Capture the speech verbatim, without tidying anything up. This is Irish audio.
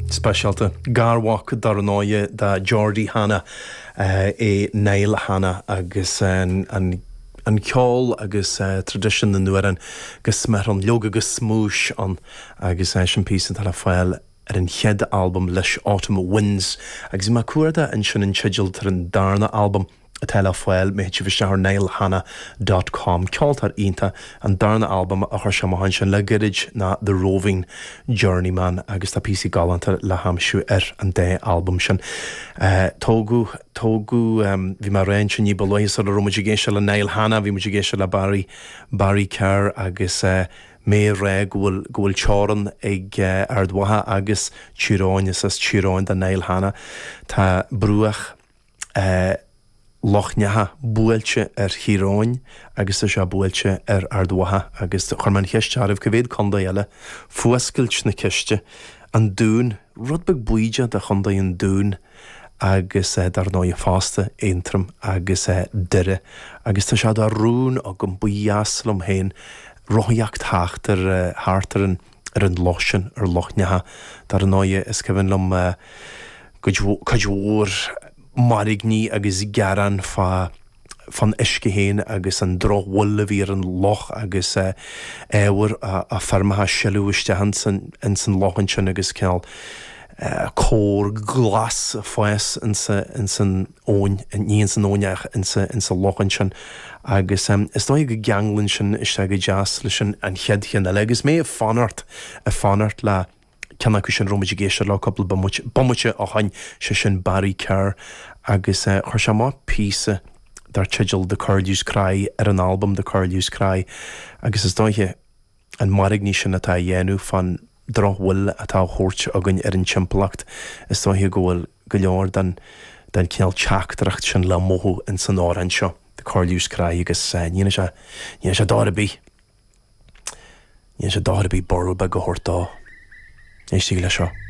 Speisialta. Garmhac dar ndóigh do Geordie Hanna é Niall Hanna agus an, an an ceol agus uh, traidisiún na n-amhrán go smior ann, leoga go smúis ann agus uh, sin píosa atá le fáil ar an chéad albam leis Autumn Winds agus má cuarda ansin an teideal tar an darna albam atá le fáil má théann sibh isteach ar niallhanna dot com ceoltóir iontach an darna albam a chuir sé amach ansin le gairid ná The Roving Journeyman agus tá píosaí galánta le haimsiú ar an dá albam sin. Uh, tógadh tógadh um, bhí mé ag rá ní ba luaithe sula raibh muid ag éisteacht le Niall Hanna, bhí muid ag éisteacht le Barry Barry Kerr agus uh, mé ag rá go bhfuil go bhfuil teorainn ag uh, Ard Mhacha agus Tír Eoghain is as Tír Eoghain do Niall Hanna. Tá bruach uh, Loch Neacha buailte ar Thír Eoghain agus tá sé buailte ar Ard Mhacha agus chuir mé an cheist oraibh cá mhéad contae eile fuascailt na ceiste an Dún, rud beag bídeach de chontae an Dúin agus eh, dar ndóigh fosta Aontroim agus eh, Doire agus tá sé de rún agam ba dheas liom féin rothaíocht thart ar eh, thart ar an ar an loch sin ar Loch Neacha dar ndóigh is cuimhin liom cuid mhór mairgní agus gearán fá fan uisce féin agus an drochfhuil a bhí ar an loch agus ábhar a feirmeacha sileadh isteach ins an loch ansin agus cineál cór glas ag fás ins an abhainn, ní ins an abhainn ach ins an loch ansin agus is dóigh go gceanglann sin isteach go deas leis an chéad cheann eile agus mé ag fanacht ag fanacht le ceann acu sin a raibh muid ag éisteacht leo cúpla bomaite ó shin, sé sin Barry Kerr agus chuir sé amach píosa dar teideal The Curlew's Cry ar an albam The Curlew's Cry agus is dóiche an mairgní sin atá a dhéanamh fan drochfhuil atá á thabhairt againn ar an timpeallacht, is dóiche go bhfuil go leor den den cineál teachtaireacht sin le mothú in san amhrán seo The Curlew's Cry agus ní dhéanann sé ní dhéanann sé dochar ar bith. Ní dhéanann sé dochar ar bith borradh beag a thabhairt dó. Éistigí leis seo.